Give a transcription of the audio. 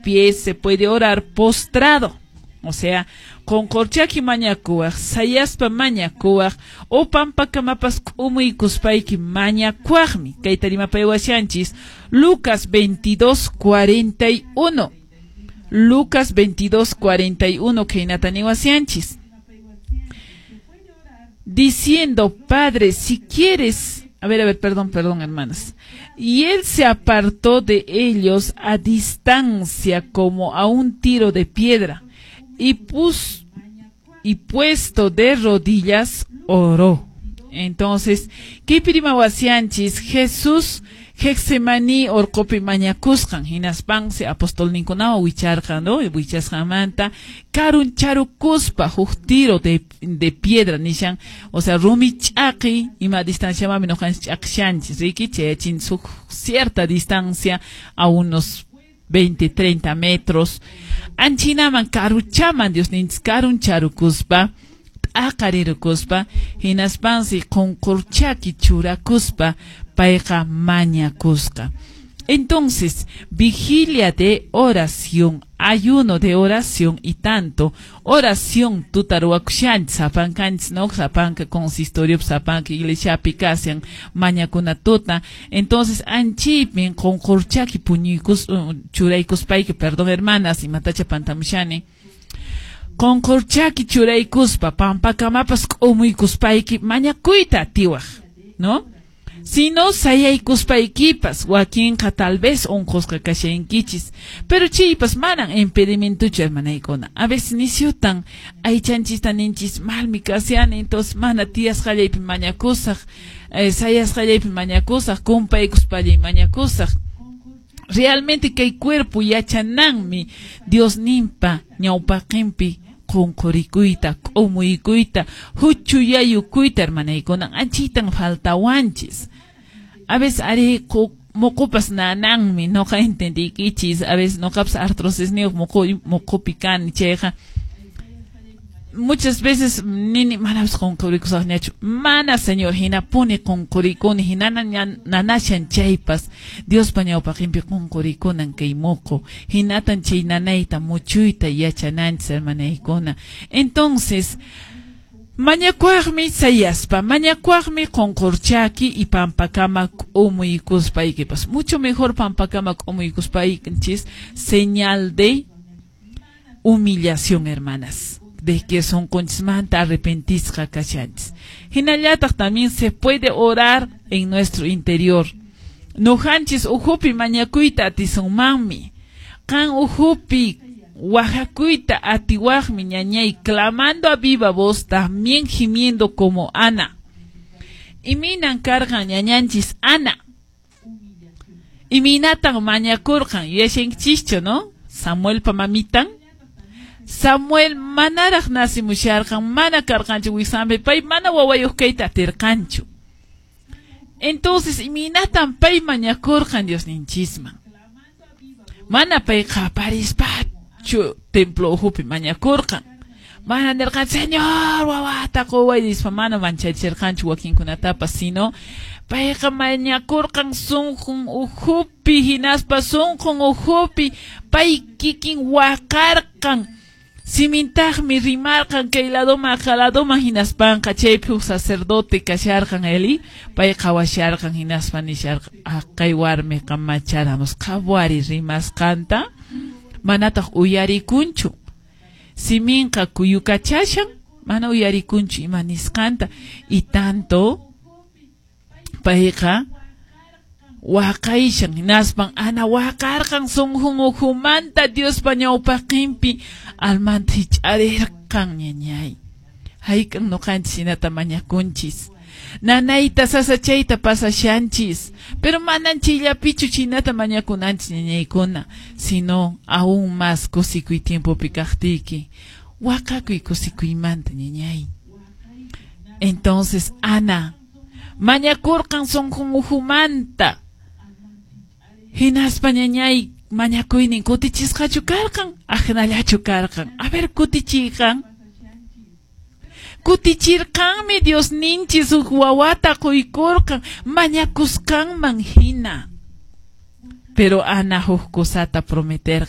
Pie, se puede orar postrado. O sea, qonqorchaki mañakuwaq, sayaspa mañakuwaq, o pampakamapas k'umuykuspayki mañakuwaqmi. Kayta rimapaywashanchis Lucas 22:41. Lucas 22:41 khaynata niwashanchis. Diciendo: "Padre, si quieres". A ver, perdón, perdón, hermanas. Y él se apartó de ellos a distancia como a un tiro de piedra y puesto de rodillas oró. Entonces, kaypi rimawashanchis Jesús Getsemaní orqopi mañakusqan, hinaspansi apostolninkunawan wicharqan, no? Wichasqanmanta karuncharukuspa huk tiro de piedra nishan, o sea, rumi ch'aqi ima distanciamanmi noqanchis ch'aqishanchis, riki, chayachin huk cierta distancia, a unos 20, 30 metros. Anchinaman karuchaman Diosninchis karuncharukuspa, t'aqarirukuspa, hinaspansi qonqorchaki churakuspa payqa mañakusqa. Entonces, vigilia de oración, ayuno de oración y tanto, oración tuta ruwakushanchis, sapankanchis, ¿no? Sapanka consistorio, sapanka iglesiapi kashan mañakuna tuta. Entonces, anchipin qonqorchaki puñuykus, churaykuspayki, perdón, hermanas, imatacha pantamushani. Qonqorchaki churaykuspa, pampakamapas k'umuykuspayki mañakuyta atiwaq, ¿no? Si no, sayaykuspaykipas, wakinqa tal vez unqusqa kashankichis, pero chaypas manan impedimentochu, hermanaykuna. A veces nisyutan aychanchista ninchis: "Malmi kashani, entonces mana tiyasqallaypi mañakusaq, sayasqallaypi mañakusaq, kumpaykuspallay mañakusaq". Realmente kay cuerpo yachananmi Diosninpa ñawpaqinpi qunqurikuyta, k'umuykuyta, huchuyayukuyta, hermanaykuna, anchitan faltawanchis. A veces ari muqupas nananmi, noqa entendiykichis, a veces noqapas artrosisniyuq muqupi kani, chayqa muchas veces nini: "Manapas qunqurikusaqñachu, mana, Señor", hinapuni qunqurikuni, hinana nanashan chaypas Diospa ñawpaqinpi qunqurikunan kay muqu, hinatan chay nanayta muchuyta yachananchis, hermanaykuna. Entonces, mañakuaqmi sayaspa, mañakuaqmi qunqurchaki y pampakama k'umuykuspaykipas. Mucho mejor pampakama k'umuykuspaykinchis, señal de humillación, hermanas, de que sonqonchismanta arrepentisqa kashanchis. Hinallataq también se puede orar en nuestro interior. Noqanchis ukhupi mañakuyta atisunmanmi. Qan ukhupi waqakuyta atiwaqmi, ñañay, clamando a viva voz, también gimiendo como Ana. Imaynan karqan ñañanchis Ana? Imaynatan mañakurqan? Yuyashankichischu, no? Samuelpa mamitan. Samuel manaraq nacimusharqan, mana karqanchu wiksanpi, pay mana wawayuq kayta atirqanchu. Entonces, imaynatan pay mañakurqan Diosninchisman? Mana pay qaparispachu templo ukhupi mañakurqan. Mana nirqan: "Señor, wawata quway", nispa mana manchachirqanchu wakinkunatapas, sino payqa mañakurqan sunqun ukhupi, hinaspa sunqun ukhupi pay kikin waqarqan. Simintaqmi rimarqan kay ladoman aka ladoman, hinaspanqa chaypi huk sacerdote kasharqan Eli, pay qhawasharqan, hinaspa nisharqan: "Kay warmiqa macharamus, qhawari rimasqanta, manataq uyarikunchu. Siminqa kuyukachashan, mana uyarikunchu ima nisqanta". Y tanto payqa waqayshan, hinaspan Ana waqarqan sunqun ukhumanta Diospa ñawpaqinpi almanta hich'arirqan, ñañay. Hayk'an noqanchis hinata mañakunchis? Nanayta sasachayta pasashanchis, pero manan chayllapichu chinata mañakunanchis, ñañaykuna, sino aún más kusikuy tiempopi kaqtiyki waqakuy kusikuymanta, ñañay. Entonces Ana mañakurqan sunqun ukhumanta. Hinaspa, ñañay, mañakuynin kutichisqachu karqan, aqnallachu karqan? A ver, kutichiyqan. Kutichirqanmi Diosninchis, huk wawata quykurqan mañakusqanman hina. Pero Ana huk kusata prometerqan.